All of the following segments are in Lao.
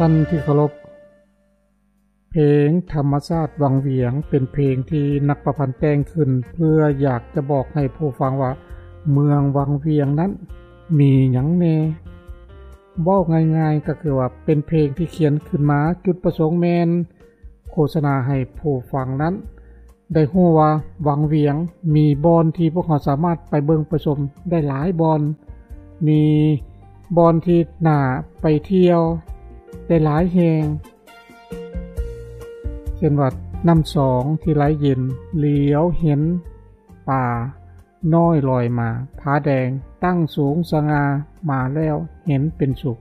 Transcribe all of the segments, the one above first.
ທ່ານທີ່ເຄົາລົບ, ເພງທຳມະຊາດວັງວຽງ ເປັນເພງທີ່ນັກປະພັນແຕ່ງຂຶ້ນ ເພື່ອຢາກຈະບອກໃຫ້ຜູ້ຟັງວ່າ ເມືອງວັງວຽງນັ້ນມີຫຍັງແດ່. ເວົ້າງ່າຍໆ ກໍຄືວ່າເປັນເພງທີ່ຂຽນຂຶ້ນມາ ຈຸດປະສົງແມ່ນໂຄສະນາໃຫ້ຜູ້ຟັງນັ້ນ ໄດ້ຮູ້ວ່າວັງວຽງມີບ່ອນທີ່ພວກເຮົາສາມາດໄປເບິ່ງໄປຊົມໄດ້ຫຼາຍບ່ອນ, ມີບ່ອນທີ່ໜ້າໄປທ່ຽວໄດ້ຫຼາຍແຫ່ງ ເຊັ່ນວ່ານ້ຳຊອງທີ່ໄຫຼເຢັນ, ຫຼຽວເຫັນປານ້ອຍລອຍມາ, ຜາແດງຕັ້ງສູງສະຫງ່າ, ມາແລ້ວເຫັນເປັນສຸກ.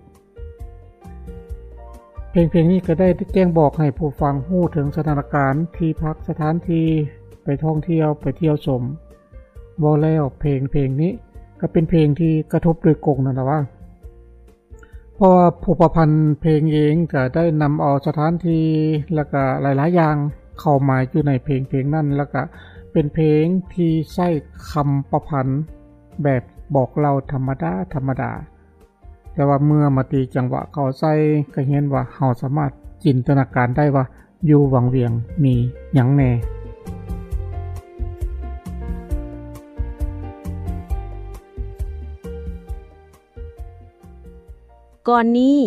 ເພງເພງນີ້ກໍໄດ້ແຈ້ງບອກໃຫ້ຜູ້ຟັງຮູ້ເຖິງສະຖານະການທີ່ພັກ, ສະຖານທີ່ໄປທ່ອງທ່ຽວ, ໄປທ່ຽວຊົມ. ເວົ້າແລ້ວເພງເພງນີ້ກໍເປັນເພງທີ່ກະທົບໂດຍກົງນັ້ນລະວ່າ ເພາະວ່າຜູ້ປະພັນເພງເອງກໍໄດ້ນຳເອົາສະຖານທີ່ ແລ້ວກໍຫຼາຍໆຢ່າງເຂົ້າມາຢູ່ໃນເພງເພງນັ້ນ, ແລ້ວກໍເປັນເພງທີ່ໃຊ້ຄຳປະພັນແບບບອກເລົ່າທຳມະດາໆ. ແຕ່ວ່າເມື່ອມາຕີຈັງຫວະເຂົ້າໃສ່ ກໍເຫັນວ່າເຮົາສາມາດຈິນຕະນາການໄດ້ວ່າຢູ່ວັງວຽງມີຫຍັງແດ່. ກ່ອນນີ້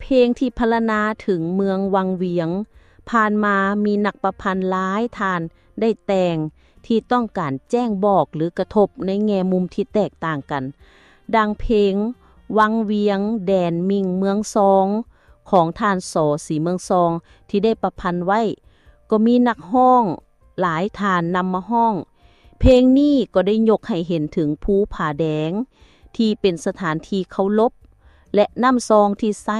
ເພງທີ່ພັນລະນາເຖິງເມືອງວັງວຽງ ຜ່ານມາມີນັກປະພັນຫຼາຍທ່ານໄດ້ແຕ່ງ ທີ່ຕ້ອງການແຈ້ງບອກ ຫຼື ກະທົບໃນແງ່ມຸມທີ່ແຕກຕ່າງກັນ, ດັ່ງເພງວັງວຽງແດນມິ່ງເມືອງຊອງ ຂອງທ່ານ ສ. ສີເມືອງຊອງ ທີ່ໄດ້ປະພັນໄວ້, ກໍມີນັກຮ້ອງຫຼາຍທ່ານນຳມາຮ້ອງ. ເພງນີ້ກໍໄດ້ຍົກໃຫ້ເຫັນເຖິງພູຜາແດງ ທີ່ເປັນສະຖານທີ່ເຄົາລົບ ແລະ ນ້ຳຊອງທີ່ໃສ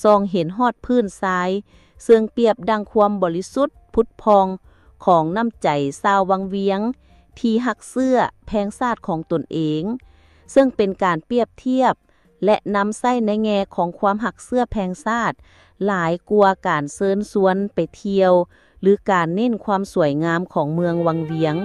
ສ່ອງເຫັນຮອດພື້ນຊາຍ, ເຊິ່ງປຽບດັ່ງຄວາມບໍລິສຸດຜຸດຜ່ອງຂອງນ້ຳໃຈຊາວວັງວຽງທີ່ຮັກເຊື້ອແພງຊາດຂອງຕົນເອງ, ເຊິ່ງເປັນການປຽບທຽບ ແລະ ນຳໃຊ້ໃນແງ່ຂອງຄວາມຮັກເຊື້ອແພງຊາດ ຫຼາຍກວ່າການເຊີນຊວນໄປທ່ຽວ ຫຼື ການເນັ້ນຄວາມສວຍງາມຂອງເມືອງວັງວຽງ.